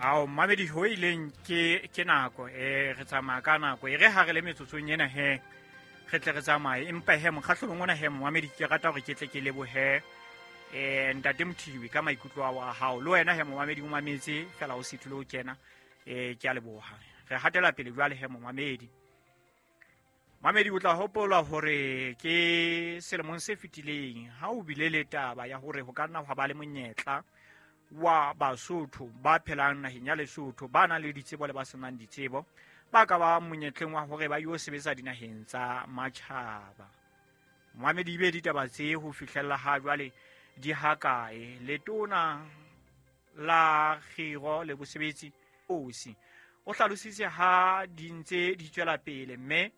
Ao mamedi, ho ileng ke nako e re tsamaya ka nako e re ha re le metsotsong ena he re tle re tsamaye, empa he mokgahlelong ona he momamedi, ke rata hore ke tle ke lebohe ntate Mothibi ka maikutlo ao a hao, le wena he momamedi o mametse fela o sethule o kena. Ke a leboha. Re hatela pele jwale he momamedi. Mamedi, o tla hopola hore ke selemong se fetileng ha o bile le taba ya hore ho ka nna hwa ba le monyetla wa Basotho ba phelang naheng ya Lesotho, ba nang le ditsebo le ba senang ditsebo, ba ka ba monyetleng wa hore ba yo sebetsa dinaheng tsa matjhaba. Moamedi, be ditaba tse ho fihlella ha jwale di hakae? Letona la kgiro le bosebetsi osi o hlalositse ha di ntse di tswela pele, mme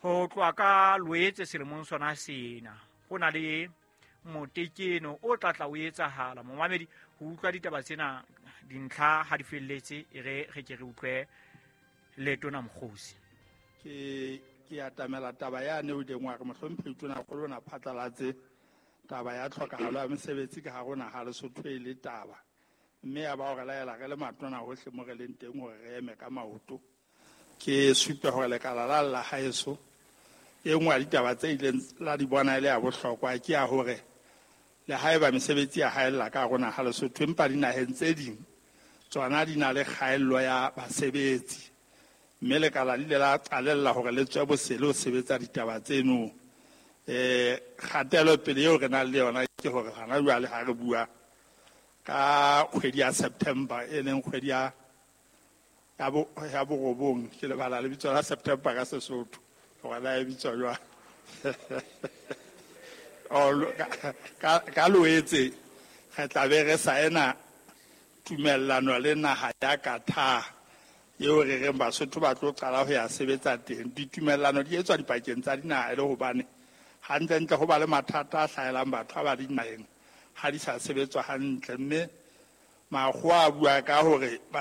ho tloha ka Loetse selemong sona sena ho na le motekeno o tla tla o etsahala. Momamedi, ho utlwa ditaba tsena dintlha ha di felletse, e re re ke re utlwe letona Mokgosi. Ke atamela taba yane o ileng wa re mohlomphehi tonakgolo o na phatlalatse taba ya tlhokahalo ya mesebetsi ka hare ho naha Lesotho e le taba, mme ya ba hore laela re le matona hohle mo re leng teng hore re eme ka maoto. Ke supe hore lekala la la haeso e nngwe ya ditaba tse ileng la di bona e le ya bohlokwa ke ya hore le haeba mesebetsi ya haella ka hare ho naha Lesotho, empa dinaheng tse ding tsona di na le kgaello ya basebetsi, mme lekala le ile la qalella hore le tswe bosele ho sebetsa ditaba tseno. Kgatelopele eo re nang le yona ke hore hana jwale ha re bua ka kgwedi ya September, e leng kgwedi ya borobong, ke lebala lebitso la September ka Sesotho hore na e bitswa jwang. Ka Loetse re tla be re saena tumellano le naha ya Qatar eo re reng Basotho ba tlo qala ho ya sebetsa teng. Ditumellano di etswa dipakeng tsa dinaha e le hobane hantlentle ho ba le mathata a hlahelang batho ha ba dinaheng ha di sa sebetswa hantle, mme makgowa a bua ka hore ba